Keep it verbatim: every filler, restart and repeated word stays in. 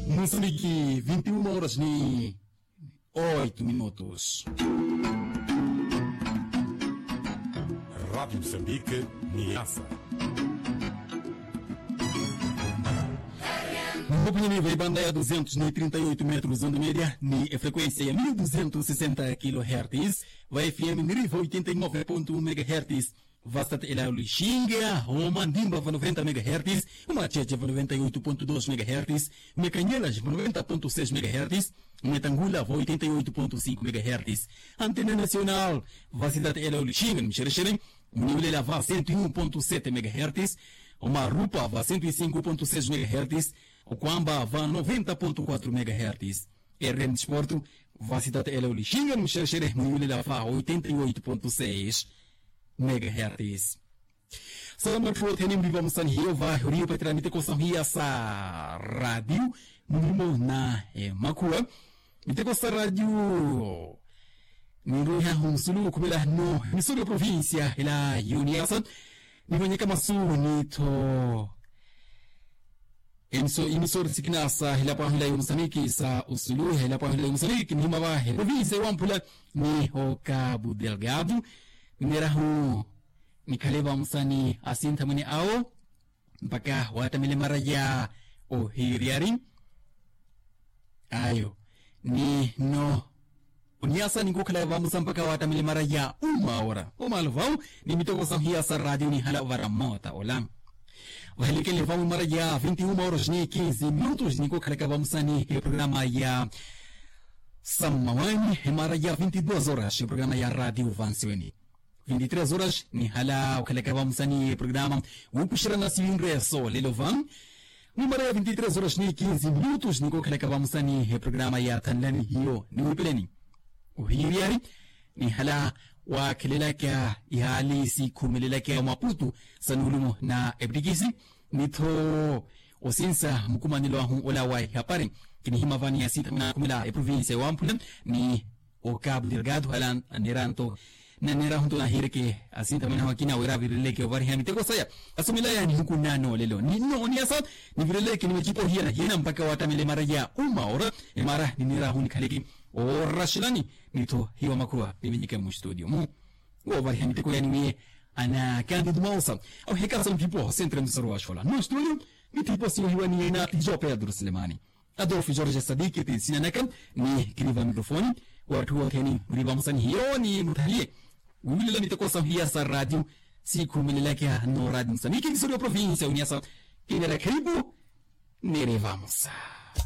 Musambiki vinti uma horas ni oitu minutos. Radiu musambiki ni yasa. Mbupunye ni vaibanda ya duzentos ni trinta e oitu metros onde media ni efrekuensia ya mil duzentos sesenta kilohertis. Va fm ni riva oitenta e nove pontu un megahertis. Vasitata ela lixinga omandimba va noventa megahertis. Umacheche va noventa e oitu pontu dos megahertis. Umekanyelas va noventa pontu seis megahertis. Umetangula va oitenta e oitu pontu sinku megahertis. Antena nasional vasitata ela lixinga ni mixerexere. Muniwulela va sento e un pontu sete megahertis. Omarupa va sento e sinku pontu seis megahertis. Okwamba va noventa pontu kuatru megahertis. Errem disportu vasitata ela lixinga ni mixerexere muniwulela va oitenta e oitu pontu seis megahertis. Salama ttu othene muriva musani hiyo va huriyo patira miteko sahiya sa radiu. Murimo na emakhuwa miteko sa radiu. Ninruiha hunsulu khuvela hino emisori ya provincia ela yuniyasa. Nivonyeka masu nitho emiso imisori sikinasa hela pwahila yomusamiki sa usuluha hela pwahila yomusamiki nihima vahe province wamphula. Ni hoka budelgado minerahu nikhale vamusani asintha mwene awo mpaka watamile maraya ohiriyari. Ayo ni no oniasa ninkukhala vamusa mpaka watamile maraya uma ora omalo vau. Ni mitoko sahiya sa radio nihala ovara mota ola vahelekele vau imara ya vinti uma horas ni kinzi minutos ninkokhalaka vamusani eprograma ya sammawani emara ya vinti dos horas eprograma ya radio vansiweni. Vinti tres horas nihala okhalaka vamusani eprograma wukuxerana siwinre solelo va. Mumara ya vinti tres horas ni kinzi minutos ninkokhalaka vamusani eprograma ya thanlani hiyo niwipeleni. Ohiyeriyari nihala wakhelelaka ihali sikhumelelaka omaputu sa nuulumo na epittikisi nitho osinsa mukumanelo ahu ola wa ihapari. Kinihima vani asinta manakhumela eprovinsia ewamphula ni okapu delgado hala aneera nto naneerahu nto nahiireke asinta manahu akina wira avireleke ovariha miteko saya. Asomela ya nihuku nanoolelo ni no oniasa nivireleke ni macipo hiyana hiyana mpaka watamele mara ya uma ora emara nineerahu nikhaleke oraxelani. Nitho hiwa makhurwa nivinyike mustudio mu wovariha miteko yani wiye anakandidu maosa awihekasa mutipo sentre msoro wa xola no studio. Mitipo siwahiwa ni yena tijo pedro silemani adolfo jorge sadiki ti sinanaka ni kiniva mikrofoni. Watthu wothene muriva musanihiyo ni muthaliye wiwulela miteko sahiya sa radio sikhumelelaka no radio musaniki kisori wa provinsia uniasa kinera khaipu. Niriva musa